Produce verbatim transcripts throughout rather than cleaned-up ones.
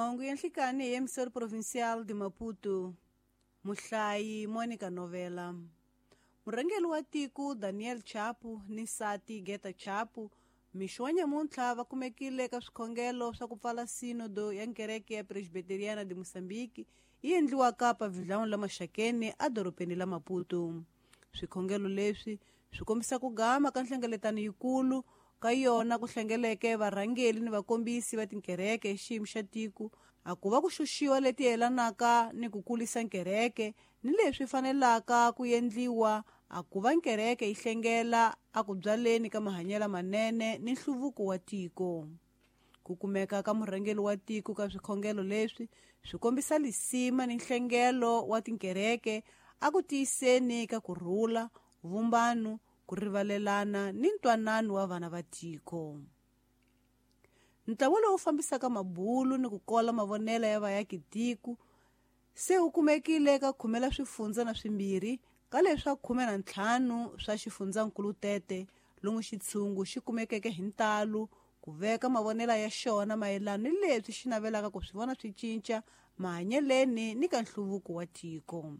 Mahungu ya nhlikani hi Emissor Provincial de Maputo. Muhlayi Monica Novela. Murhangeri wa tiko Daniel Chapo ni nsati Geta Chapo mixo wa nyamuntlha va kumekile eka swikhongelo swa ku pfala sinodo ya nkereke ya Presbiteriana de Mozambique yi endliwaka pavilhão la Maxakeni edorobeni la Maputo. Swikhongelo leswi swi kombisa ku gama ka nhlengeletano yikulu ka yona ku hlengeleke varhangeri ni vakombisi va tinkereke hi xiyimo xa tiko a ku va ku xuxiwa leti yelanaka ni ku kulisa nkereke ni leswi fanelaka ku endliwa a ku va nkereke yi hlengela a ku byaleni ka mahanyelo manene ni nhluvuko wa tiko. Ku kumeka ka murhangeri wa tiko ka swikhongelo leswi swi kombisa lisima ni nhlengelo wa tinkereke a ku tiyiseni ka kurhula, vumbano, ku rivalelana ni ntwanano wa vana va tiko. Ntlawa lowu fambisaka mabulu ni ku kola mavonelo ya vaaki tiko se wu kumekile ka khume la swifundza na swimbirhi ka leswa khume na ntlhanu swa xifundzankulu Tete lomu xitshungu xi kumekeke hi ntalo ku veka mavonelo ya xona mayelana ni leswi xi navelaka ku swi vona swi cinca mahanyeleni ni ka nhluvuko wa tiko.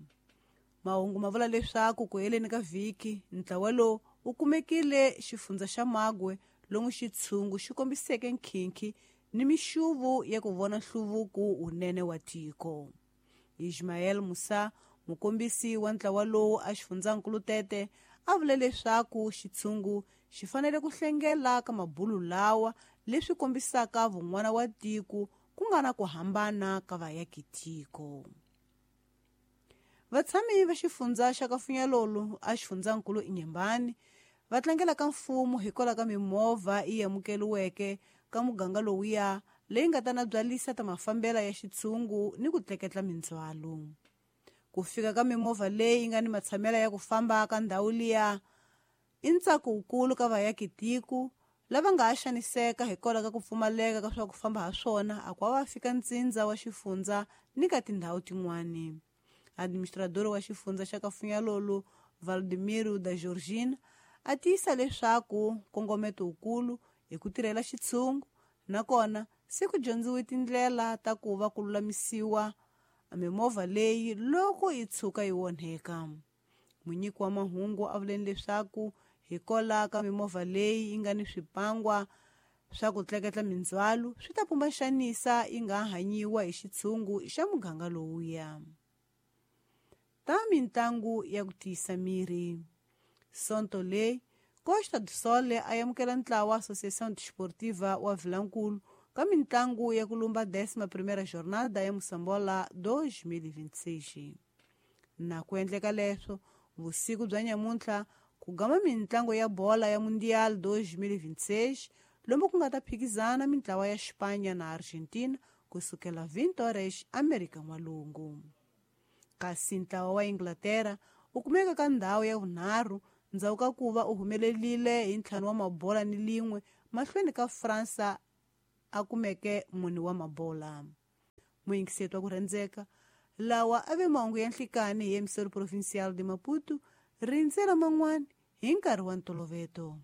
Mahungu ma vula leswaku ku heleni ka vhiki ntlawa lowu wu kumekile xifundza xa Magwe lomu xitshungu xi kombiseke nkhinkhi ni mixuvu ya ku vona nhluvuko wunene wa tiko. Ismael Musa, mukombisi wa ntlawa lowu a xifundzankulu Tete, a vule leswaku xitshungu xi fanele ku hlengela ka mabulu lawa leswi kombisaka vun'wana wa tiko ku nga na ku hambana ka vaaki tiko. Vatshami va xifundza xa Kafunyalolo a xifundzankulu Inyembani va tlangela ka mfumo hikwalaho ka mimovha yi amukeriweke ka muganga lowuya leyi nga ta na byalisa ta mafambela ya xitshungu ni ku tleketla mindzhwalo. Ku fika ka mimovha leyi nga ni matshamela ya ku famba ka ndhawu liya i ntsako wukulu ka vaaki tiko lava nga ha xaniseka hikwalaho ka ku pfumaleka ka swa ku famba ha swona a ku va fika ntsindza wa xifundza ni ka tindhawu tin'wani. Administrador wa xifundza xa Kafunyalolo Valdemiro da Georgina a tiyisa leswaku nkongometo wukulu hi ku tirhela xitshungu nakona se ku dyondziwe tindlela ta ku va ku lulamisiwa mimovha leyi loko yi tshuka yi onheka. Munyiki wa mahungu a vuleni leswaku hikwalaho ka mimovha leyi yi nga ni swipangwa swa ku tleketla mindzhwalo swi ta pumba xanisa yi nga hanyiwa hi xitshungu xa muganga lowuya. Ta mintlangu ya ku tiyisa miri. Sonto leyi Costa do Sol a amukela ntlawa Associação Desportiva wa Vilankulu ka mintlangu ya ku lumba décima primeira jornada ya Moçambola dois mil e vinte e seis. Na ku endleka leswo vusiku bya nyamuntlha ku gama mintlangu ya bola ya Mundial dois mil e vinte e seis lomu ku nga ta phikizana mintlawa ya Espanha na Argentina kusukela vinte horas Amerika N'walungu. Kasi ntlawa wa Inglaterra wu kumeka ka ndhawu ya vunharhu ndzhaku ka ku va u humelerile hi ntlhanu wa mabola ni lin'we mahlweni ka Fransa a kumeke mune wa mabola. Muyingiseti wa ku rhandzeka lawa a ve mahungu ya nhlikani hi Emissor Provincial de Maputo rindzela man'wani hi nkarhi wa ntoloveto.